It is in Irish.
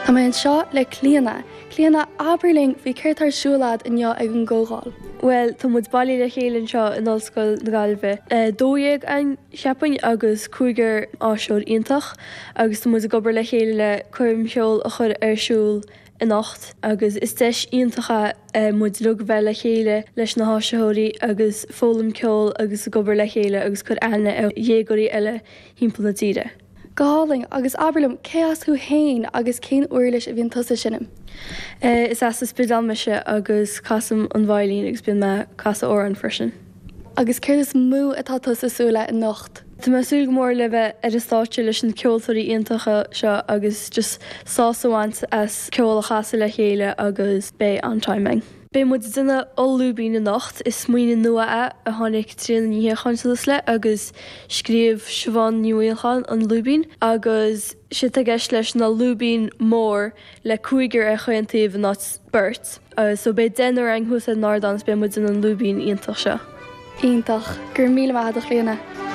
Tá mé anseo le Clíona. Clíona, abair linn faoi céard tá ar siúl a'd inniu ag an gcomhdháil. Bhuel, tá muid bailithe le chéile anseo in Ollscoil na Gaillimhe. 12 againn, cheapfainn, agus cúigear áisitheoir iontach agus tá muid ag obair le chéile le coirm cheoil a chur ar siúl anocht agus is deis iontach é muid uilig a bheith le chéile leis na háisitheoirí agus foghlaim ceoil agus ag obair le chéile agus cur aithne ar dhéagóirí eile thimpeall na tíre. Go hálainn, agus abair liom, cé as thú fhéin agus cén uirlis a bhíonn tusa ag seinm? Is as an Spidéal mise agus casaim an veidhlín agus bíonn mé ag casadh amhrán freisin. Agus céard is mó atá tusa ag súil le anocht? Tá mé ag súil go mór le bheith ar an stáitse leis na ceoltóirí iontacha seo agus just sásamh a bhaint as ceol a chasadh le chéile agus beidh an-time againn. Beidh muid ag déanamh oll-lúibín anocht. Is smaoineamh nua é a tháinig Tríona Ní Shíocháin suas le agus scríobh Siobhán Ní Mhaolcháin an lúibín agus séard atá i gceist leis ná lúibín mór le cúigear ar chaon taobh in áit beirt. So beidh deichniúr againn thuas ar an ardán agus beidh muid ag déanamh an lúibín iontach seo. Iontach. Go raibh míle maith agat a Chlíona.